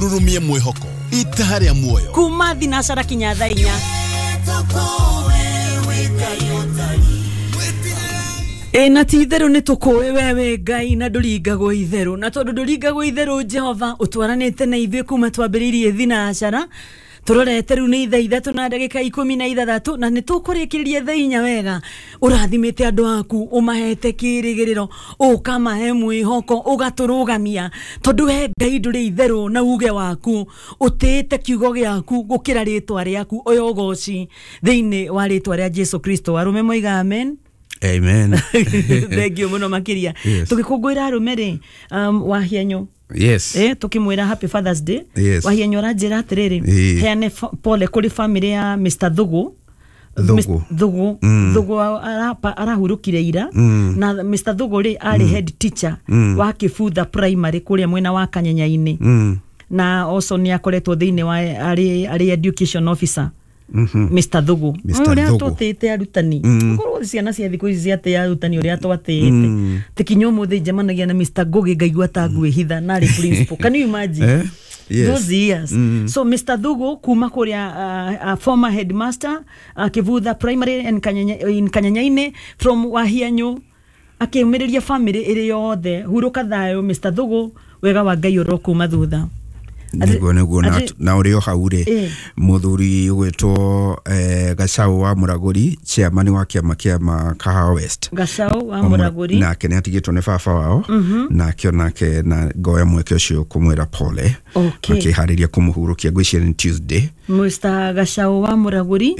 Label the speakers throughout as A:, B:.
A: Rurumie mwihoko itaha rĩa muoyo
B: kuma thinacara kinya thaa inya. Ĩ na ti itherũ nĩ tũkũĩ we wĩ Ngai na ndũringagwo itherũ, na tondũ ndũringagwo itherũ Jehova ũtwaranĩte na ithuĩ kuma twambĩrĩirie thinacara tũrorete rĩu nĩ thaa ithatũ na ndagĩka ikũmi na ithathatũ, na nĩ tũkũrĩkĩrĩria thaa inya wega. Ũrathimĩte andũ aku, ũmahete kĩrĩgĩrĩro, ũkamahe mwĩhoko, ũgatũrũgamia, tondũ we Ngai ndũrĩ itherũ na uge waku, ũtĩĩte kiugo gĩaku gũkĩra rĩtwa rĩaku. Ũyũ ũgoci thĩinĩ wa rĩtwa rĩa Jesu Kristo. Arũme moiga amen.
C: Amen.
B: Thank you muno makiria.
C: Yes.
B: Tũgĩkũngũĩra arũme rĩ, Wahienyo.
C: Yes.
B: Tukimwira happy Father's Day.
C: Yes.
B: Wahienyo aranjĩra atĩrĩrĩ, heane pole kũrĩ family ya Mr. Thugu.
C: Thugu.
B: Thugu. Thugu arahurũkire ira. Na Mr. Thugu rĩ arĩ head teacher wa Kĩbutha Primary kũrĩa mwena wa Kanyenya-inĩ. Na also nĩ akoretwo thĩinĩ wa arĩ education officer. Mr. Thugu.
C: Mr.
B: Ũrĩa
C: Thugu.
B: twatĩĩte arutani. Korwo ciana cia thikũ ici ciatĩĩa arutani ũrĩa twatĩĩte. Tikinya ũmũthĩ njemanagia na Mr. Ngugi ngaigua ta ngwĩhitha na arĩ principal. Can you imagine?
C: Eh? Yes.
B: Those years. So Mr. Thugu kuma kũrĩa former headmaster Kĩbutha Primary in Kanyenya-inĩ from Wahianyu, akĩũmĩrĩria family ĩrĩ yothe. Hurũka thayũ Mr. Thugu, wega wa Ngai ũrokuma thutha.
C: Nĩguo nĩguo, na ũrĩ o hau rĩ, mũthuri ũgwĩtwo Gacau wa Mũragũri, chairman wa kĩama kĩa Kahawa West.
B: Gacau wa Mũragũri.
C: Nake nĩ atigĩtwo nĩ baba wao, nake onake na ngoya mweke ũcio kũmwĩra pole. Makĩharĩria kũmũhurũkia, ngwĩciria nĩ Tuesday.
B: Mr. Gacau wa Mũragũri,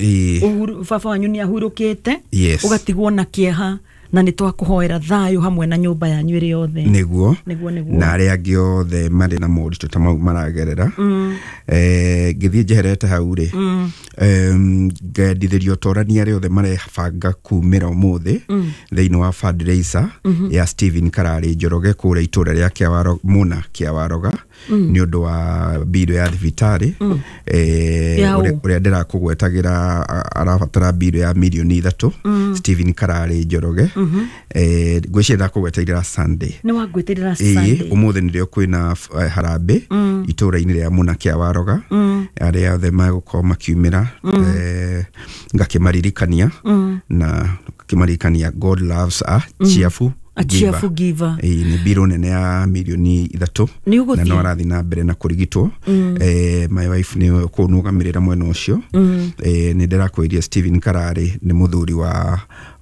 B: baba wanyu nĩ ahurũkĩte.
C: Yes.
B: Ũgatigwo na kĩeha, na nĩ twakũhoera thayũ hamwe na nyũmba yanyu ĩrĩ yothe.
C: Nĩguo.
B: Nĩguo nĩguo.
C: Na arĩa angĩ othe marĩ na moritũ ta mau maragerera. Ngĩthiĩ njeherete hau rĩ, ngendithĩrio torania arĩa othe marebanga kumĩra ũmũthĩ thĩinĩ wa fundraiser ya Stephen Kararĩ Njoroge kũrĩa itũra rĩa Kĩawaroga, Mũna Kĩawaroga, nĩ ũndũ wa mbirũ ya thibitarĩ. Ũrĩa ndĩrakũgwetagĩra arabatara mbirũ ya mirioni 3, Stephen Kararĩ Njoroge. Ngwĩciria ndakũgweteire Sunday.
B: Nĩ wangwĩtĩrĩra Sunday.
C: Ũmũthĩ nĩrĩo kwĩna harambĩ itũra-inĩ rĩa Mũna Kĩawaroga, arĩa othe magũkorwo makiumĩra, ngakĩmaririkania na ngakĩmaririkania God loves a cheerful
B: A cheerful giver.
C: Nĩ mbirũ nene ya mirioni 3, na no arathiĩ na mbere na kũrigitwo. My wife nĩ kũnũgamĩrĩra mwena ũcio. Nĩ ndĩrakwĩria Stephen Kararĩ nĩ mũthuri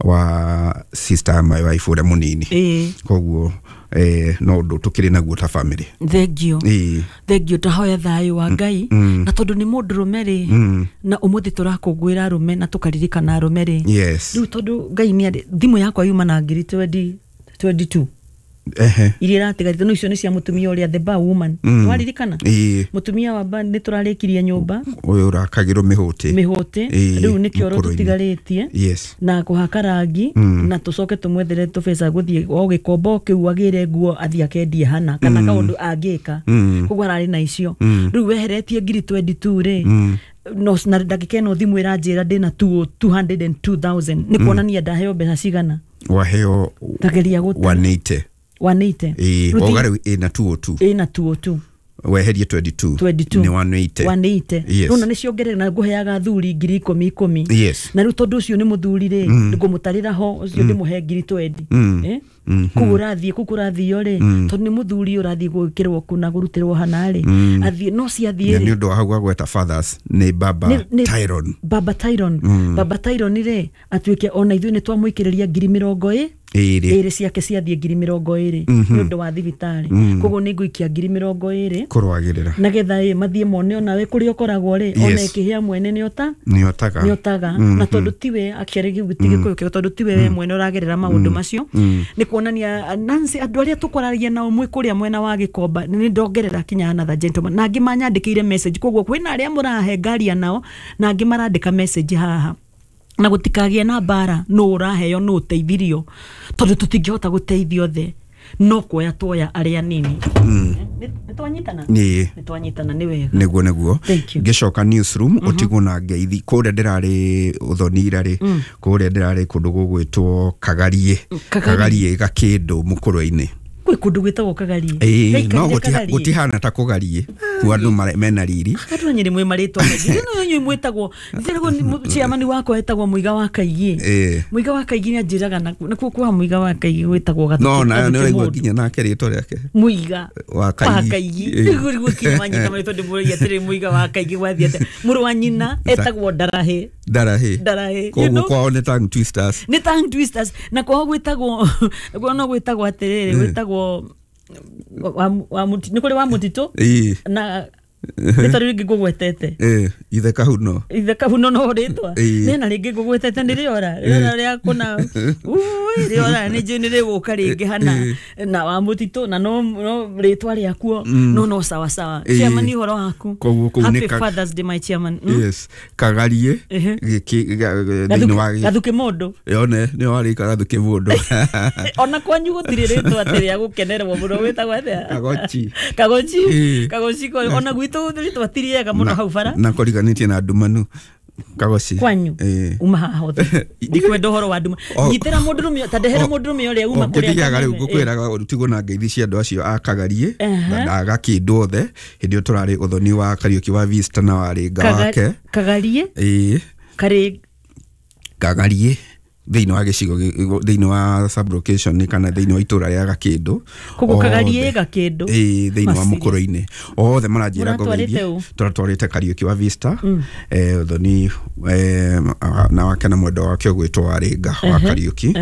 C: wa sister my wife ũrĩa mũnini. Koguo no ũndũ tũkĩrĩ naguo ta family.
B: Thank you. Thank you. Tahoya thayũ wa Ngai. Na tondũ nĩ mũndũrũme rĩ, na ũmũthĩ tũrakũngũĩra arũme na tũkaririkana arũme rĩ.
C: Yes.
B: Rĩu tondũ Ngai nĩ arĩ, thimũ yakwa yuma na ngiri 22. Iria iratigarĩte no icio nĩ cia mũtumia ũrĩa the bar woman. Twaririkana? Mũtumia wa bar nĩ tũrarĩkirie nyũmba.
C: Ũyũ ũrakagĩrwo mĩhũtĩ.
B: Mĩhũtĩ. Rĩu nĩ kĩoro tũtigarĩtie.
C: Yes.
B: Na kũhaka rangi, na tũcoke tũmwethere tũbeca gũthiĩ o gĩkombo kĩu agĩre nguo athiĩ akendie hana kana kaũndũ angĩka. Koguo ararĩ na icio. Rĩu weheretie ngiri 22 rĩ, no na ndagĩka ĩno thimũ ĩranjĩra ndĩna 202,000. Nĩ kuonania ndaheo mbeca cigana?
C: Waheo
B: Tageria gũte.
C: 180.
B: 180.
C: Wauga rĩu ĩna 202.
B: Ĩna 202.
C: Weherie 22.
B: 22.
C: Nĩ 180.
B: 180.
C: Yes.
B: Rĩu na nĩ ciongerera na ngũheaga athuri ngiri ikũmi ikũmi.
C: Yes.
B: Na rĩu tondũ ũcio nĩ mũthuri rĩ, ngũmũtarĩra ho ũcio ndĩmũhe ngiri 20. Kũu ũrathiĩ, kũu kũrathio rĩ, tondũ nĩ mũthuri ũrathiĩ gwĩkĩrwo kũ na kũrutĩrwo hana rĩ, athiĩ no ciathiĩ
C: rĩ. Nĩ ũndũ wa hau gweta fathers nĩ Baba Tyron.
B: Baba Tyron. Baba Tyron rĩ, atuĩke ona ithuĩ nĩ twamũikĩrĩria ngiri mĩrongo ĩrĩ ciake ciathiĩ ngiri mĩrongo ĩrĩ nĩ ũndũ wa thibitarĩ. Koguo nĩ ngũikia ngiri mĩrongo ĩrĩ
C: kũrũagĩrĩra
B: nagetha ĩ mathiĩ mone onawe kũrĩa ũkoragwo rĩ, ona ĩkĩhĩa mwene nĩ otaga. Nĩ otaga. Na tondũ tiwe actually gĩu ti Gĩkũyũ kĩo, tondũ tiwe we mwene ũragerera maũndũ macio, nĩ kuonania Nancy andũ arĩa tũkwaragia nao mwĩ kũrĩa mwena wa Gĩkomba nĩ ndongerera kinya another gentleman, na angĩ manyandĩkĩire message. Koguo kwĩna arĩa mũrahe ngaria nao na angĩ marandĩka message haha, na gũtikagĩe na mbara nũ ũraheo nũ ũteithirio, tondũ tũtingĩhota gũteithia othe, no kuoya tuoya arĩa nini. Nĩ twanyitana? Nĩ twanyitana, nĩ wega.
C: Nĩguo nĩguo. Ngĩcoka newsroom ũtigwo na ngeithi kũrĩa ndĩrarĩ ũthonira rĩ, kũrĩa ndĩrarĩ kũndũ gũgwĩtwo Kagarie. Kagarie Gakĩndũ mũkũrwe-inĩ.
B: Kwĩ kũndũ gwĩtagwo Kagarie.
C: No gũtihana ta Kũgarie. Ku andũ mena riri.
B: Andũ a Nyĩrĩ mwĩ marĩtwa maingĩ. No inyuĩ mwĩtagwo chairman wakwa etagwo Mũiga wa Kaigi. Mũiga wa Kaigi nĩ anjĩraga nakuo kwa Mũiga wa Kaigi gwĩtagwo Gathuki.
C: No nayo nĩ ũraigua nginya nake rĩtwa rĩake.
B: Mũiga
C: wa Kaigi.
B: Nĩguo kinya wanyita marĩtwa ndĩmũragia atĩrĩ Mũiga wa Kaigi gwathiĩ atĩa. Mũrũ wa nyina etagwo Ndarahi.
C: Ndarahi.
B: Ndarahi.
C: Koguo kwao nĩ tongue twisters.
B: Nĩ tongue twisters. Na kwao gwĩtagwo no gwĩtagwo atĩrĩrĩ gwĩtagwo nĩ kũrĩ wa mũtitũ na rĩtwa rĩu rĩngĩ ngũgwetete.
C: Ithe Kahuno.
B: Ithe Kahuno no rĩtwa. Nena rĩngĩ ngũgwetete nĩ rĩora. Rĩora rĩa kũna. Rĩora nĩ njũĩ nĩ rĩgũka rĩngĩ hana na wa mũtitũ na no rĩtwa rĩakuo no sawa sawa. Chairman ũhoro waku. Happy Father's Day my chairman.
C: Yes. Kagarie thĩinĩ wa
B: Gathuki mũndũ.
C: Yone nĩ warĩka Gathuki mũndũ.
B: Ona kwanyu gũtirĩ rĩtwa atĩ rĩa gũkenerwo mũno wĩtagwo atĩa?
C: Kagochi.
B: Kagochi. Kagochi ona gwitũ rĩtwa ti rĩega mũno hau bara.
C: Na kũriganĩtie na ndumanu. Kagoci.
B: Kwanyu. Uma haha othe. Ndikwenda ũhoro wa nduma. Nyitĩra mũndũrũme ta ndehera mũndũrũme ũrĩa uma kũrĩa.
C: Ngĩthiaga rĩu ngũkwĩraga ũtigwo na ngeithi cia andũ acio a Kagarie na Gakĩndũ othe hĩndĩ ĩyo tũrarĩ ũthoni wa Kariũki wa Vista na warĩ nga wake.
B: Kagarie?
C: Kagarie thĩinĩ wa gĩcigo thĩinĩ wa sublocation kana thĩinĩ wa itũra rĩa Gakĩndũ.
B: Koguo Kagarie Gakĩndũ.
C: Thĩinĩ wa Mũkũrũ-inĩ. Othe maranjĩra ngũgeithie. Tũratwarĩte Kariũki wa Vista ũthoni na wake na mwendwa wake ũgwĩtwo Warĩnga wa Kariũki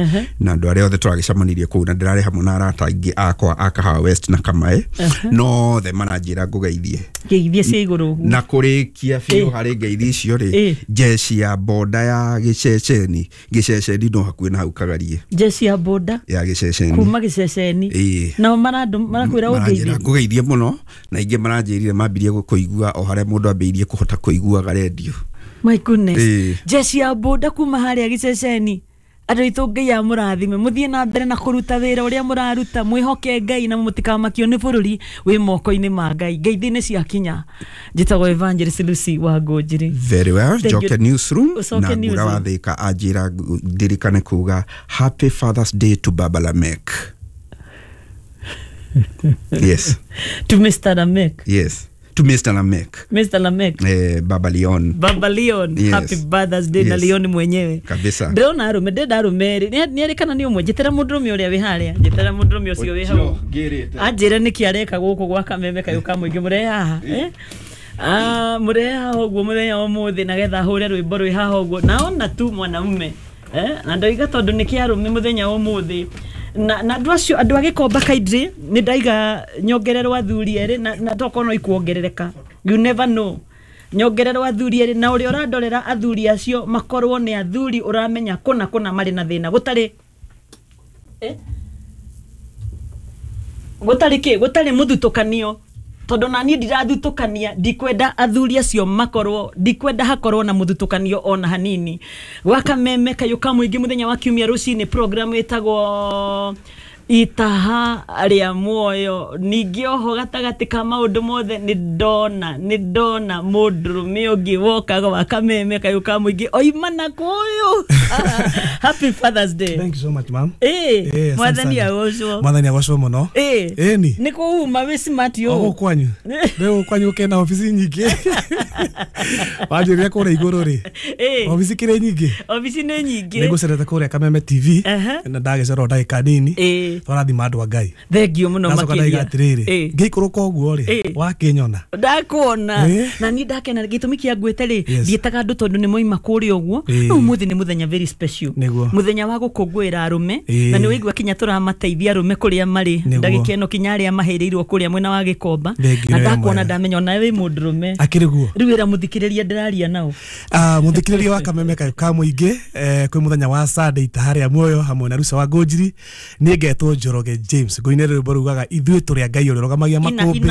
C: na andũ arĩa othe tũragĩcemanirie kũu na ndĩrarĩ hamwe na arata aingĩ akwa a Kahawa West na Kamae no othe maranjĩra ngũgeithie.
B: Ngeithie cia igũrũ ũguo.
C: Na kũrĩkia biũ harĩ ngeithi icio rĩ jeshi ya boda ya gĩceceni gĩceceni no hakuhĩ na hau Kagarie.
B: Jeshi ya boda
C: ya gĩceceni
B: kuma gĩceceni nao marakwĩra ũngeithie.
C: Ngũgeithie mũno na ingĩ maranjĩrire mambirie kũigua o harĩa mũndũ ambĩrĩirie kũhota kũiguaga rendio.
B: My goodness. Jeshi ya boda kuma harĩa gĩceceni. Andũ aitũ Ngai amũrathime mũthiĩ na mbere na kũruta wĩra ũrĩa mũraruta mwĩhoke Ngai na mũtikamakio nĩ bũrũri wĩ moko-inĩ ma Ngai. Ngeithi nĩ ciakinya. Njĩtagwo Evangelist Lucy wa Ngũnjiri.
C: Very well. Njoke newsroom na Ngũra wa Thĩka anjĩra ndirikane kuga Happy Father's Day to Baba Lamek. Yes.
B: To Mr. Lamek.
C: Yes. To Mr. Lamek.
B: Mr. Lamek.
C: Baba Leon.
B: Baba Leon.
C: Yes.
B: Happy Father's Day.
C: Yes.
B: Na Leon mwenyewe.
C: Kabisa.
B: Ndĩrona arũme, ndĩrenda arũme erĩ. Nĩ erĩ kana nĩ ũmwe? Njĩtĩra mũndũrũme ũrĩa wĩ harĩa. Njĩtĩra mũndũrũme ũcio wĩ hau. Anjĩre nĩkĩ areka gũkũ gwa Kameme kayũ ka mũingĩ mũrehe haha. Mũrehe haha ũguo mũthenya wa ũmũthĩ nagetha hũre rwĩmbo rwĩ haha ũguo. Naona tu mwanamume. Na ndoiga tondũ nĩ kĩa arũme mũthenya wa ũmũthĩ. Na andũ acio andũ a Gĩkomba kaindĩ nĩ ndaiga nyongererwo athuri erĩ na tokorwo no ikuongerereka. You never know. Nyongererwo athuri erĩ na ũrĩa ũrandorera athuri acio makorwo nĩ athuri ũramenya kũna kũna marĩ na thĩna gũtarĩ gũtarĩ kĩ gũtarĩ mũthutũkanio tondũ na niĩ ndirathutũkania ndikwenda athuri acio makorwo ndikwenda hakorwo na mũthutũkanio ona hanini. Gwa Kameme kayũ ka mũingĩ mũthenya wa kiumia rũcinĩ program ĩtagwo Itaha rĩa muoyo. Ningĩ oho gatagatĩ ka maũndũ mothe nĩ ndona mũndũrũme ũngĩ woka gwa Kameme kayũ ka mũingĩ oima na kũyũ. Happy Father's Day.
D: Thank you so much, ma'am.
B: Mwathani agocwo.
D: Mwathani agocwo mũno. Ĩni.
B: Nĩ kũuma wĩ smart yo.
D: O kwanyu. Rĩu kwanyu kena ofici nyingĩ. Wanjĩrire kũrĩa igũrũ rĩ. Ofici kĩrĩ nyingĩ.
B: Ofici nĩ nyingĩ.
D: Nĩ ngũcerete kũrĩa Kameme TV na ndagĩcera o ndagĩka nini. Twarathima andũ a Ngai.
B: Thengio mũno makĩria.
D: Atĩrĩrĩ ngĩikũrũka ũguo rĩ wakĩnyona.
B: Ndakuona. Na niĩ ndakena gĩtũmi kĩa ngwĩte rĩ ndiĩtaga andũ tondũ nĩ moima kũrĩa ũguo. No ũmũthĩ nĩ mũthenya very special. Mũthenya wa gũkũngũĩra arũme na nĩ ũigua kinya tũramateithia arũme kũrĩa marĩ ndagĩka ĩno kinya arĩa mahĩrĩirwo kũrĩa mwena wa Gĩkomba na ndakuona ndamenya ona wĩ mũndũrũme.
D: Akĩrĩ guo.
B: Rĩu ĩra mũthikĩrĩria ndĩraria nao.
D: Mũthikĩrĩria wa Kameme kayũ ka mũingĩ kwĩ mũthenya wa Sunday Itaha rĩa muoyo hamwe na Ruca wa Ngũnjiri. Nĩ ngetwo Njoroge James ngũinĩre rwĩmbo rugaga ithuĩ tũrĩ a Ngai ũrĩa ũrũgamagia makũmbĩ.